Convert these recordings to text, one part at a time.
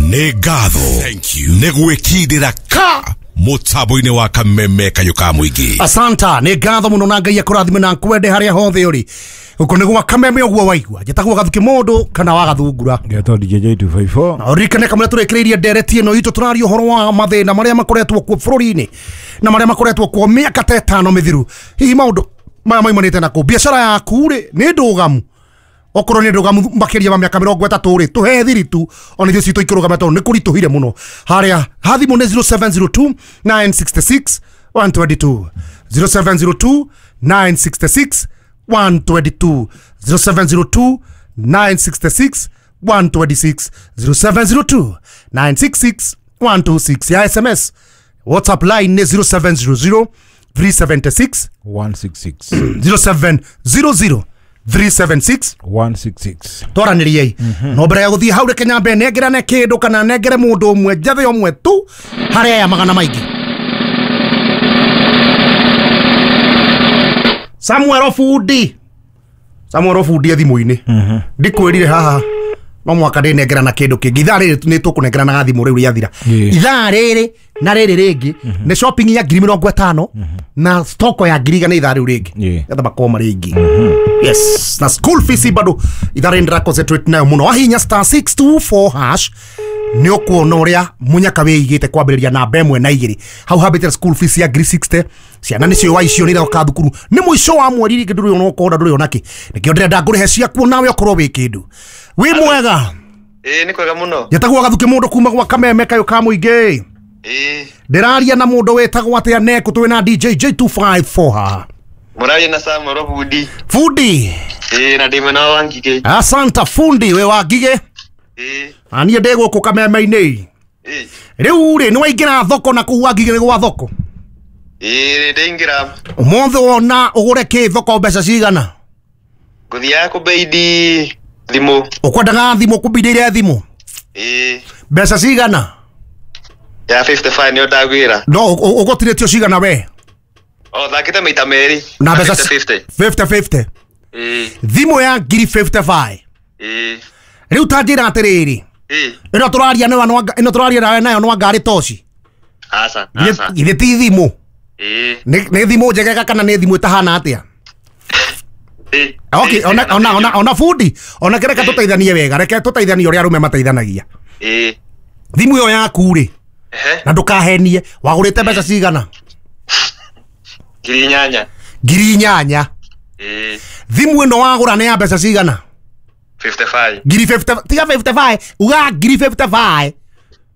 Nĩ ngatho nĩ gwĩkindĩra ka mũtambo-inĩ wa Kameme Kayũ ka Mũingĩ. Asanta, nĩ ngatho mũno na Ngai akũrathime na nkwende harĩa hothe ũrĩ. Gũkũ nĩ gwa Kameme ũguo waigua. Njĩtagwo Gathuki mũndũ kana wa Gathungura. Ngetwo DJ J254. Na ũririkane kamũrĩa tũrĩkĩrĩirie ndereti ĩno itũ tũraria ũhoro wa mathĩna marĩa makoretwo kuo bũrũri-inĩ na marĩa makoretwo kuo mĩaka ta ĩtano mĩthiru. Hihi maũndũ maya maimanĩte na kũ? Biacara yaku rĩ nĩ ndũgamu? Okorwo nĩ ndũgamu makĩria ma mĩaka 30 rĩ, tũhe thiri tu ona ithuĩ citũ ikĩrũgama tondũ nĩ kũritũhire mũno. Harĩa ha thimũ nĩ 0702 966 122, 0702 966 122, 0702 966 126, 0702 966 126 ya SMS. WhatsApp line nĩ 0700 376 166. 0700 376 166. Twaranĩriei. No mbere ya gũthiĩ hau reke nyambe nengerane kĩndũ kana nengere mũndũ ũmwe njathe ũmwe tu harĩa aya magana maingĩ. Samuel Obundi. Samuel Obundi thimũ-inĩ. Ndikwĩrire haha no mwaka ndĩnengerana kĩndũ kĩngĩ. Ithaa rĩrĩ nĩ tũkũnengerana thimũ rĩu rĩathira. Ithaa rĩrĩ na rĩrĩ rĩngĩ nĩ shopping ya 50,000 na stoko ya 100,000 ithaa rĩu rĩngĩ. Getha makorwo marĩ aingĩ. Yes, na school fees bado ithaa rĩrĩ ndĩra concentrate nayo mũno. Wahihinya star 624 hash nĩ ũkuona ũrĩa mũnyaka wĩigĩte kwambĩrĩria namba 1 na 2. Hau hambĩte school fees ya 60,000. Ciana nĩcio waicio nĩ iroka thukuru. Nĩ mũico wa mweri rĩngĩ ndũrĩ ona ũkona ndũrĩ ona kĩ. Nĩkĩo ndĩrenda ngũrĩhe ciakuo nawe ũkorwo wĩ kĩndũ. Wĩ mwega? Ĩĩ nĩ kwega mũno. Njĩtagwo Gathuki mũndũ kuma gwa Kameme Kayũ ka Mũingĩ. Ĩĩ. Ndĩraria na mũndũ wĩtagwo atĩa neku twĩ na DJ J254 haha. Mũraria na Samuel Obundi. Fundi. Ĩĩ na ndĩ mwena wa Ngigĩ. Asanta fundi wĩ wa Ngigĩ. Ĩĩ. Na niĩ ndĩ gũkũ Kameme-inĩ. Ĩĩ. Rĩu rĩ nĩ waingĩra thoko na kũu wa Ngigĩ nĩ gwa thoko? Ĩĩ ndĩingĩra. Ũmũthĩ wona ũgũre kĩ thoko mbeca cigana? Ngũthiaga kũbeidi thimũ. Ũkwendaga thimũ kũbindĩire thimũ? Ĩĩ. Mbeca cigana? Ya 55 nĩyo ndagwĩra. No ũgũtirĩtio cigana we? O thakĩte maita merĩ. Na mbeca 50. 50. Ĩĩ. Thimũ ya 55,000. Ĩĩ. Rĩu ta njĩra atĩrĩrĩ. Ĩĩ. Ĩno tũraria nayo ĩno tũraria nawe nayo no ngari toci. Aca, aca. Githĩ ti thimũ? Ĩĩ. Nĩ thimũ njegega kana nĩ thimũ ĩtahana atĩa? Ĩĩ. Okay, ona fundi, ona reke tũteithanie wega, reke tũteithanie ũrĩa arũme mateithanagia. Ĩĩ. Thimũ ĩyo yaku rĩ. Na ndũkahenie, wagũrĩte mbeca cigana? 8,000. 8,000. Ĩĩ. Thimũ ĩno wagũra nĩ ya mbeca cigana? 55. 50, tiga 55, uga 55.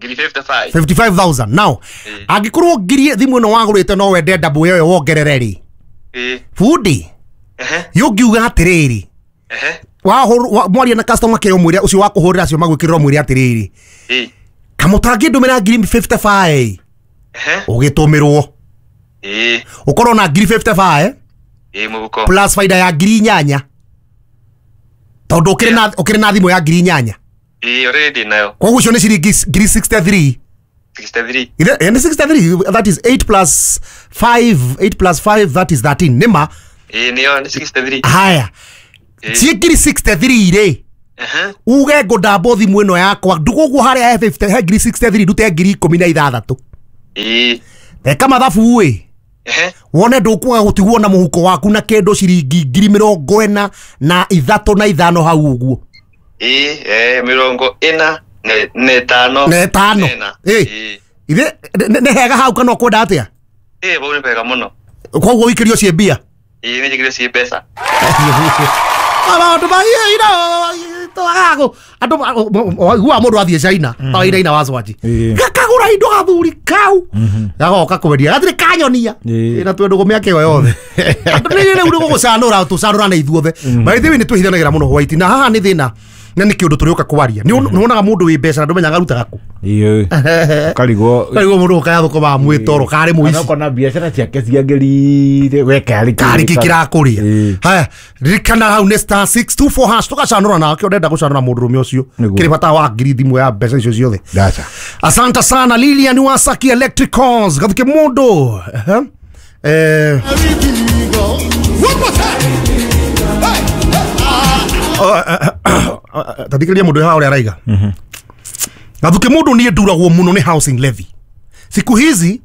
55. 55,000. Now, angĩkorwo ngiri thimũ ĩno wagũrĩte no wende double ĩyo wongerere rĩ. Ĩĩ. Fundi. Yũngiuga atĩrĩrĩ. Mwaria na customer care ũmwĩre ũcio wa kũhũrĩra acio magwĩkĩrĩra ũmwĩre atĩrĩrĩ. Ĩĩ. Kamũtangĩndũmĩra 55,000. Ũgĩtũmĩrwo. Ĩĩ. Ũkorwo na 55,000. Ĩĩ mũhuko. Plus faida ya 8,000. Tondũ ũkĩrĩ na thimũ ya 8,000. Ĩĩ already nayo. Koguo ũcio nĩ ciringi 63. 63. Nĩ 63, that is 8 plus 5, 8 plus 5 that is 13. Nĩma? Ĩĩ nĩyo nĩ 63. Haya. Ciĩ 63 rĩ. Uge ngũndambwo thimũ ĩno yakwa ndũgũguo harĩa he 50 he 63 ndute 16,000. Ĩĩ. Eka mathabu ĩ. Wone ndũkwaga gũtigwo na mũhuko waku na kĩndũ ciringi 43 na 5 hau ũguo. Ĩĩ, 45. Na ĩtano. Ĩĩ. Ithe nĩ hega hau kana ũkwenda atĩa? Ĩĩ bau nĩ hega mũno. Koguo ũikĩrio ciĩ mbia? Ĩĩ nĩ njĩkĩrio ciĩ mbeca. Maũndũ andũ waiguaga mũndũ athiĩ China ta wainaina wa Swaji gakagũra indo gathuri kau gagoka kwendia gatirĩ kanyonia na twendũgũ mĩaka ĩyo yothe. Andũ nĩ rĩu nĩ gũgũcanũra tũcanũrane ithuothe. By the way nĩ twĩhithanagĩra mũno white na haha nĩ thĩna na nĩ kĩũndũ tũrĩũka kwaria. Nĩ wonaga mũndũ wĩ mbeca na ndũmenyaga arutaga kũ. Ĩĩ. Karigwo karigwo mũndũ ũkaya thũkũma mwĩtoro karĩ mũici. Kana biacara ciake ciagĩrĩire we karĩ karĩ kĩ kĩrakũrĩa. Haya, ririkana hau nĩ star 624 hash tũgacanũra nake ũrenda gũcanũra mũndũrũme ũcio. Kĩrĩ bata wa ngiri thimũ ya mbeca icio ciothe. Ndaca. Asante sana Lilian Wasaki Electricals. Gathuke mũndũ. Tathikĩrĩria mũndũ haha ũrĩa araiga. Gathuke mundu nie nduragwo muno ni housing levy. Siku hizi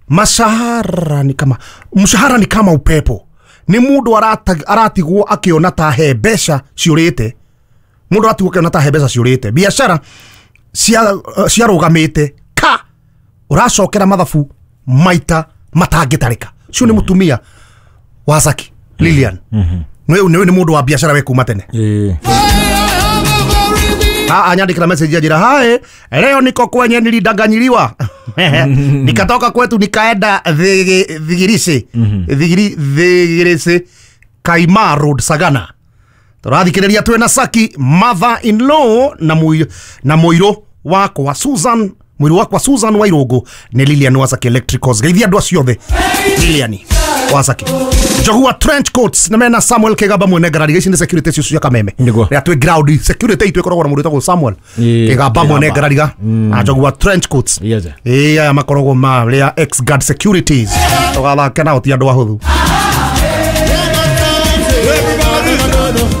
mshahara ni kama upepo. Ni mundu aratigwo akiona ta he mbeca ciurite. Mundu aratigwo akiona ta he mbeca ciurite. Biashara ciarugamite ka uracokera mathabu maita matangitarika. Cio ni mutumia wa Saki Lilian. Ni mundu wa biashara we kuma tene. Anyandikira message ajira hae leo niko kwenye nilidanganyiliwa. Nikatoka kwetu nikaenda Thigirisi. Thigirisi Kaima Road Sagana. Turathikiriria twina Saki mother in law na muiru wakwa Susan, muiru wakwa Susan Wairugu ni Lilian wa Saki Electricals. Geithia andu acio othe Lilian wa Saki. Njogua trench coats na mena Samuel Kigaba mwene ngarari ici ni security cio cia Kameme. Ria twi ground security itu ikoragwo na mundu witagwo Samuel Kigaba mwene ngarariga na njogua trench coats. Aya makoragwo ma ria ex guard securities. Tugathake nao ti andu ahuthu.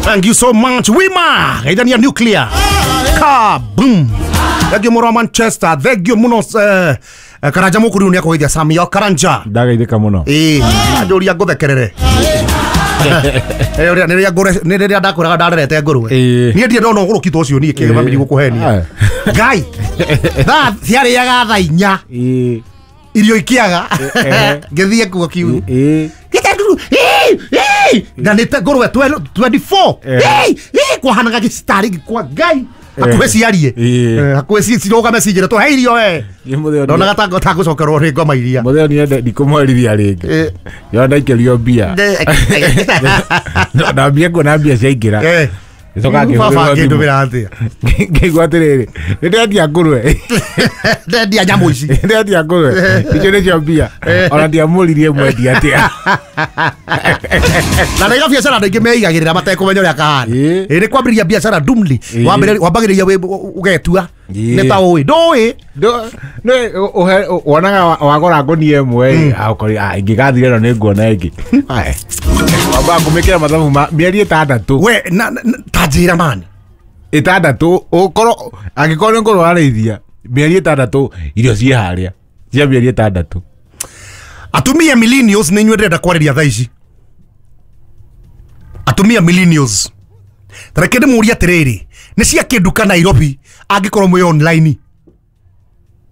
Thank you so much Wima. Geithania nuclear. Ka boom. Thank you muno Manchester. Thank you muno Karanja mukuru ni akogeithia Sami o Karanja. Ndagaithika muno. Anjũria ngũthekerere. Nĩ rĩrĩa ndakwĩraga ndarerete ngũrwe. Niĩ ndirĩ ndona ũgũrũki ta ũcio niĩ kĩgema mĩrigo kũhenia. Ngai. Thaa ciarĩaga thaa inya. Irio ikiaga. Ngĩthiĩ kuo kiu. Na nĩ ngũrwe 24. Kwahanaga gĩcitarĩ kwa Ngai. Hakuhĩ ciarie. Hakuhĩ cirũgame cinjĩre tũhe irio we. Ndonaga ta gũcokerwo nĩ ngoma iria. Mũtheo niĩ ndikũmwerithia rĩngĩ. Yo ndaikĩrio mbia. Ndambia kuona mbia ciaingĩra. Gĩcoka ngĩhũthĩrwo ngĩndũmĩra atĩa. Ngĩigua atĩrĩrĩ, nĩ ndendia ngũrwe. Ndendia nyamũ ici. Ndendia ngũrwe. Icio nĩcio mbia. Ona ndiamũririe mwendia atĩa. Na naiga biacara andũ aingĩ meigagĩrĩra matekũmenya ũrĩa kahana. Nĩ kwambĩrĩria biacara ndumli. Wambagĩrĩria ũgetua. Nĩ ta ũĩ. Ndũĩ. Wonaga wagũra ngũnia ĩmwe ingĩgathira ĩno nĩ nguona ĩngĩ. Wambaga kũmĩkĩra mathabu ma mĩeri ĩtandatũ. We ta njĩra mani. Ĩtandatũ ũkorwo angĩkorwo nĩ ngũrwe warĩithia mĩeri ĩtandatũ irio ciĩ harĩa cia mĩeri ĩtandatũ. Atumia millennials nĩ inyuĩ ndĩrenda kwarĩria thaa ici. Atumia millennials. Tareke ndĩmũrie atĩrĩrĩ, nĩ cia kĩnduka Nairobi angĩkorwo mwĩ online?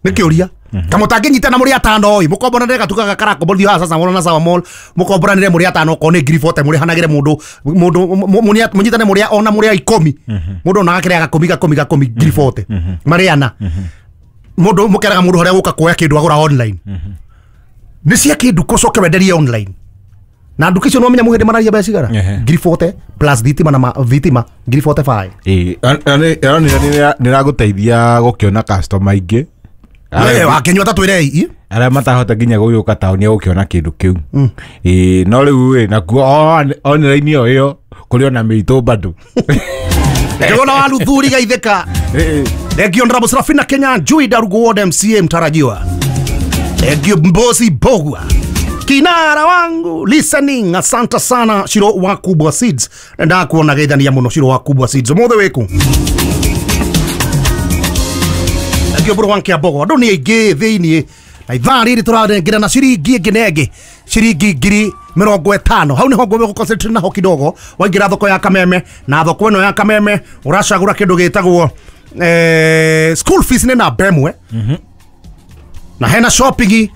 Nĩ kĩũria. Kama ũtangĩnyitana mũrĩ atano ĩ, mũkomboranĩre gatuka gaka karakomborithio haha sasa mall na Sawa Mall, mũkomboranĩre mũrĩ atano okorwo nĩ 40,000 mũrĩhanagĩre mũndũ mũnyitane mũrĩ ona mũrĩ a 10. Mũndũ ona gakĩrĩa gakũmi gakũmi gakũmi 40,000. Marĩ ana. Mũndũ mũkeraga mũndũ harĩa gũka kuoya kĩndũ agũra online. Nĩ cia kĩnduka ũcoke wenderie online. Na nduka icio no menya mũhĩndĩ mararia mbeca cigana? 40,000 plus thitima na thitima 45,000. Nĩragũteithia gũkĩona customer aingĩ. Wakĩnyua ta twĩre ii. Arĩa matahota nginya gũgĩũka taũni gũkĩona kĩndũ kĩu. No rĩu ĩ nakuo online ĩyo ĩyo kũrĩ ona mĩitũ bado. Ngĩona wa Luthuri gaithĩka. Thengio Honorable Serafina Kenya Njui Darugo Ward MCA mtarajiwa. Thengio Mbosi Bogwa. Kinara wangu listening, asante sana Shiro wa Kubwa Seeds. Ndakuona geithania muno Shiro wa Kubwa Seeds. Ũmũthĩ wĩkũ? Thengio bũrũ wanke Mbogo. Andũ nĩ aingĩ thĩiniĩ. Na ithaa rĩrĩ tũranengera na ciringi ĩngĩ na ĩngĩ. Ciringi 50,000. Hau nĩho ngũmbe gũconcentrate naho kidogo. Waingĩra thoko ya Kameme na thoko ĩno ya Kameme ũracagũra kĩndũ gĩtagwo school fees nĩ namba ĩmwe. Na hena shopping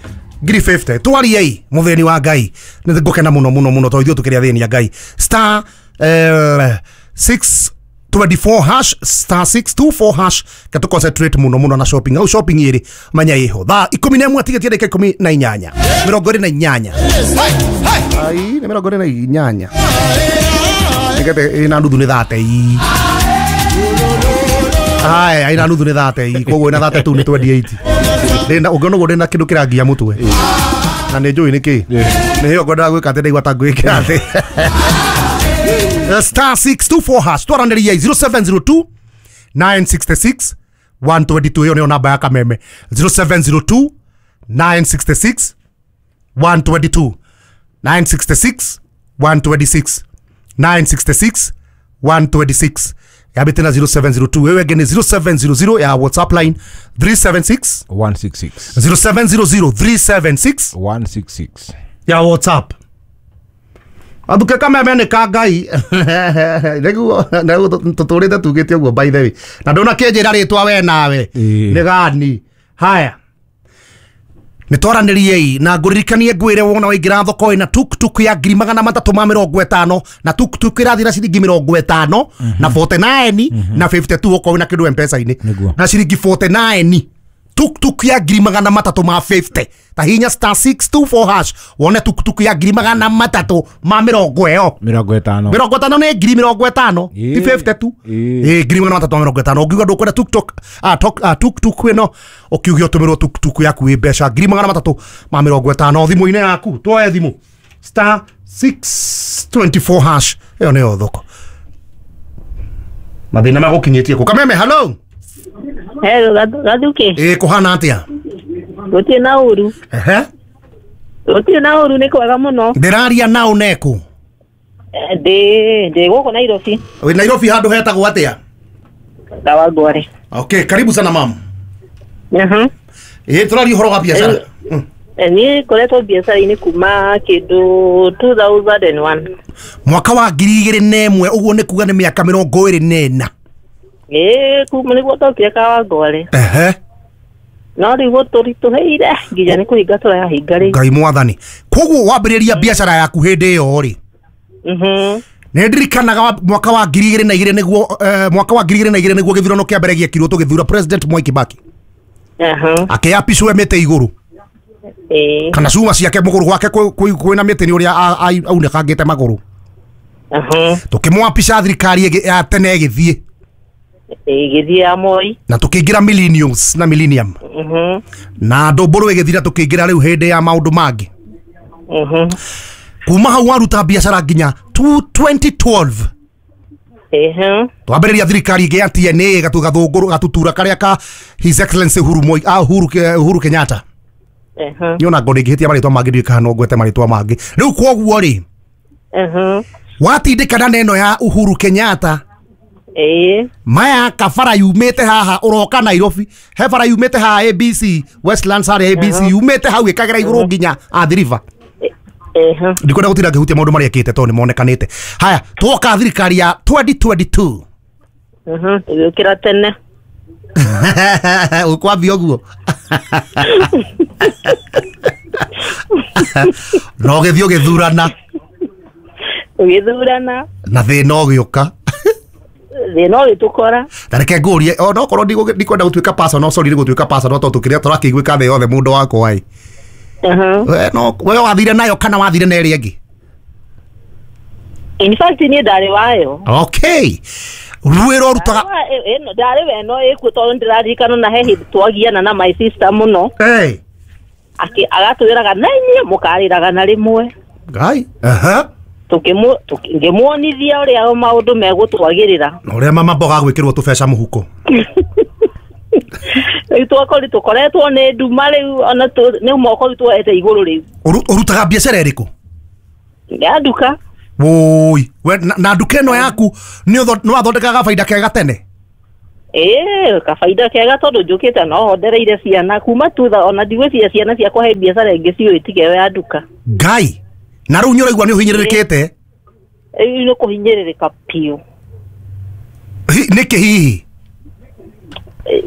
50,000. Twariei mutheni wa Ngai. Nĩ ngũkena muno muno muno tondũ ithuĩ tũkĩrĩ athĩni a Ngai. Star 624 hash star 624 hash ketu concentrate muno muno na shopping. Au shopping ĩrĩ menya ĩho. Thaa 11 tigĩtie ndagĩka 18. 28. Ai nĩ 28. Nĩgetha ĩna nuthu nĩ 30. Ai ĩna nuthu nĩ 30. Koguo ĩna 32 nĩ 28. Ndĩna ũngĩona ũguo ndĩna kĩndũ kĩrangia mũtwe. Na nĩ njũĩ nĩkĩ. Nĩ hĩyo ngwendaga gwĩka atĩ ndaigua ta ngwĩkĩra atĩ. Star 624 hash twaranĩria 0702 966 122. Ĩyo nĩyo namba ya Kameme. 0702 966 122 966 126 966 126. Yambĩte na 0702 ĩyo ĩngĩ nĩ 0700 ya WhatsApp line 376 166 0700 376 166 ya WhatsApp. Athuke kameme nĩ ka Ngai. Nĩguo tũtũrĩte tugĩte ũguo by the way. Na ndũnakĩnjĩra rĩtwa we nawe. Nĩ gani? Haya. Nĩ twaranĩriei na ngũririkanie ngwĩre wona waingĩra thoko ĩna tuktuk ya 350 na tuktuk ĩrathiĩ na ciringi 50 na 49 na 52 okorwo wĩna kĩndũ M-Pesa-inĩ na ciringi 49 tuktuk ya 350 ta hinya star 624 hash wone tuktuk ya 350 50 50 nĩ 50 ti 52 350 ũngiuga ndũkwenda tuktuk tuktuk ĩno ũkiuge ũtũmĩrwo tuktuk yaku ĩ mbeca 350 thimũ-inĩ yaku tuoe thimũ star 624 hash ĩyo nĩyo thoko mathĩna magũkinyĩtie kũ Kameme hello. Hello, Gathuke. Kuhana atia? Gutirĩ na ũru. Ehe. Gutirĩ na ũru nĩ kwega mũno. Ndĩraria nao neku? Ndĩ gũkũ Nairobi. Wĩ Nairobi handũ hetagwo atĩa? Kawangware. Okay, karibu sana mam. Mhm. Tũraria ũhoro wa biacara. Niĩ ngoretwo biacara-inĩ kuma kĩndũ 2001. Mwaka wa 2001 ũguo nĩ kuga nĩ mĩaka 24. Kuma nĩguo ndokire Kawangware. Ehe. No rĩu gũtũritũhĩire nginya nĩ kũhinga tũrahinga rĩu. Ngai mwathani. Koguo wambĩrĩria biacara yaku hĩndĩ ĩyo rĩ? Mhm. Nĩ ndirikanaga mwaka wa 2002 nĩguo mwaka wa 2002 nĩguo gĩthurano kĩa mbere gĩekirwo tũgĩthura President Mwai Kibaki. Aha. Akĩapicwo mĩtĩ igũrũ. Kana cuma ciake mũgũrũ gwake kwĩna mĩtĩ nĩ ũrĩa aunĩkangĩte magũrũ. Aha. Tũkĩmwapica thirikari ya tene ĩgĩthiĩ. Ĩgĩthiĩ ya Moi. Na tũkĩingĩra millennials na millennium. Mhm. Na ndũmbũrũ ĩgĩthira tũkĩingĩra rĩu hĩndĩ ya maũndũ mangĩ. Mhm. Kuma hau waruta biacara nginya 2012. Ehe. Twambĩrĩria thirikari ĩngĩ ya TNA gatugathũngũrũ gatutura karĩa ka His Excellency Uhuru Moi Uhuru Kenyatta. Ehe. Niona ngo ndingĩhĩtia marĩtwa mangĩ ndiũĩ kana no ngwete marĩtwa mangĩ. Rĩu kwoguo rĩ. Ehe. Watindĩkana na ĩno ya Uhuru Kenyatta. Maya kabara yumĩte haha ũroka Nairobi he bara yumĩte haha ABC Westlands harĩa ABC yumĩte hau ĩkagera igũrũ nginya Athi River. Ndikwenda gũtinda ngĩhutia maũndũ marĩa ekĩte tondũ nĩ monekanĩte. Haya twoka thirikari ya 2022. Tũgĩũkĩra tene. Ũkwambia ũguo. Na ũgĩthiĩ ũgĩthurana. Ũgĩthurana. Na thĩna ũgĩũka. Thĩna ũgĩtũkora. Ta reke ngũrie ona okorwo ndikwenda gũtuĩka personal, sorry nĩ gũtuĩka personal tondũ kĩrĩa tũrakĩiguĩka thĩ yothe mũndũ wakwa ĩ. We no we wathire nayo kana wathire na ĩrĩa ĩngĩ? In fact niĩ ndarĩ wayo. Okay. Rwĩra ũrutaga ndarĩ we no ĩkuo tondũ ndĩraririkana na he hĩndĩ twagiana na my sister mũno. Agatwĩraga na inyuĩ mũkarĩraga na rĩmwe. Ngai. Aha. Ngĩmuonithia ũrĩa maũndũ megũtwagĩrĩra. Na ũrĩa mama mboga gwĩkĩrwo tũbeca mũhuko. Rĩu twakori tũkoretwo nĩ nduma rĩu ona nĩ moko tuoete igũrũ rĩu. Ũrutaga biacara ĩrĩkũ? Ya nduka. Woi, we na nduka ĩno yaku nĩ wathondekaga baida kega tene? Kabaida kega tondũ njũkĩte no hondereire ciana kuma tutha ona ndigwĩciria ciana ciakwa he biacara ĩngĩ ciũĩ tiga ĩyo ya nduka. Ngai. Na rĩu nĩ ũraigua nĩ ũhinyĩrĩrĩkĩte? Rĩu nĩ kũhinyĩrĩrĩka biũ. Nĩkĩ hihi?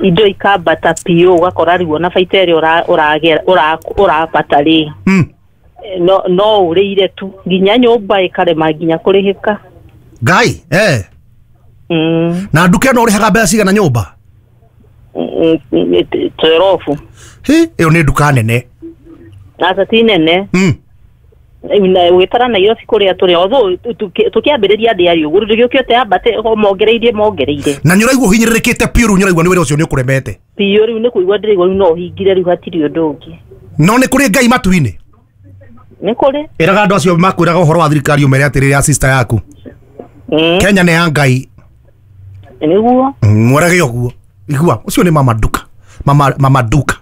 Indo ikambata biũ ũgakora rĩu ona baita ĩrĩa ũrabata rĩ no ũrĩire tu nginya nyũmba ĩkarema nginya kũrĩhĩka. Ngai. Na nduka ĩno ũrĩhaga mbeca cigana nyũmba? 12. Hi, ĩyo nĩ nduka nene. Aca ti nene. Wĩtara Nairobi kũrĩa tũrĩ although tũkĩambĩrĩria ndĩarĩ ũguo rĩu gĩũkĩte yambate mongereirie. Na nĩ ũraigua ũhinyĩrĩrĩkĩte biũ rĩu nĩ ũraigua nĩ wĩra ũcio nĩ ũkũremete? Biũ rĩu nĩ kũigua ndĩraigua rĩu no ũhingire rĩu hatirĩ ũndũ ũngĩ. No nĩ kũrĩ Ngai matu-inĩ? Nĩ kũrĩ. Ĩraga andũ acio makwĩraga ũhoro wa thirikari ũmere atĩrĩrĩ ya sister yaku. Kenya nĩ ya Ngai. Nĩguo. Mwerage ũguo. Igua ũcio nĩ mama nduka. Mama nduka.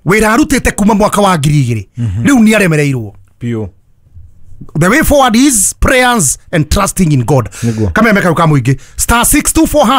Wĩra arutĩte kuma mwaka wa 2000 rĩu nĩ aremereirwo biũ. The way forward is prayers and trusting in God. Nĩguo. Kameme kau ka mũingĩ, *624#.